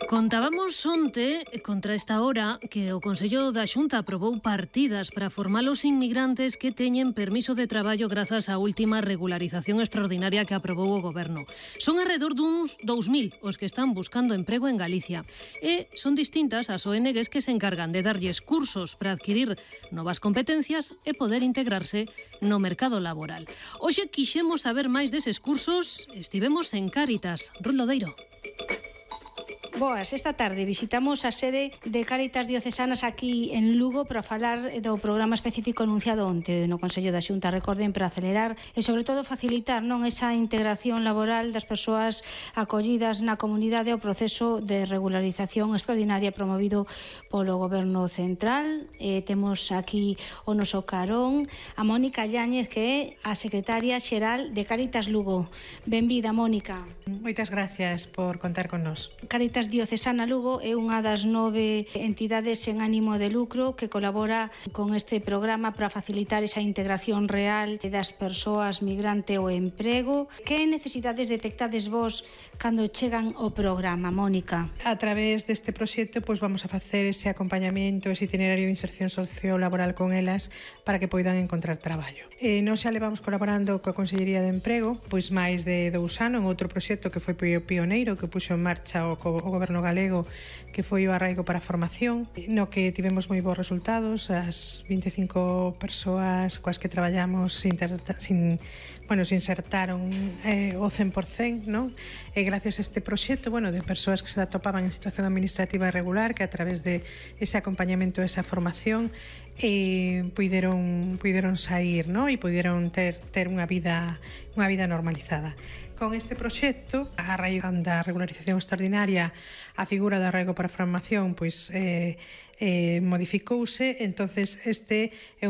Contábamos onte, contra esta hora, que o Consello da Xunta aprobou partidas para formar os inmigrantes que teñen permiso de traballo grazas á última regularización extraordinaria que aprobou o Goberno. Son alrededor duns 2.000 os que están buscando emprego en Galicia. E son distintas as ONGs que se encargan de darlles cursos para adquirir novas competencias e poder integrarse no mercado laboral. Hoxe quixemos saber máis deses cursos, estivemos en Cáritas. Ruth Lodeiro. Boas, esta tarde visitamos a sede de Cáritas Diocesanas aquí en Lugo para falar do programa específico anunciado onte no Consello da Xunta, recorden, para acelerar e sobre todo facilitar esa integración laboral das persoas acollidas na comunidade ao proceso de regularización extraordinaria promovido polo Goberno Central. Temos aquí o noso carón a Mónica Yáñez, que é a secretaria xeral de Cáritas Lugo. Benvida, Mónica. Moitas gracias por contar con nós. Cáritas Diocesana Lugo é unha das 9 entidades sen ánimo de lucro que colabora con este programa para facilitar esa integración real das persoas migrante ao emprego. Que necesidades detectades vos cando chegan ao programa, Mónica? A través deste proxecto vamos a facer ese acompañamento, ese itinerario de inserción sociolaboral con elas para que poidan encontrar traballo. Nós xa levamos colaborando coa Consellería de Emprego máis de 2 anos en outro proxecto que foi pioneiro, que puxo en marcha o Goberno galego, que foi o Arraigo para a Formación, no que tivemos moi bons resultados. As 25 persoas coas que traballamos se insertaron o 100%, non? E gracias a este proxecto, de persoas que se atopaban en situación administrativa irregular, que a través de ese acompañamento, esa formación, puideron sair, non? E puideron ter unha vida normalizada. Con este proxecto, a raíz da regularización extraordinaria, a figura do arraigo para a formación modificouse, entonces este é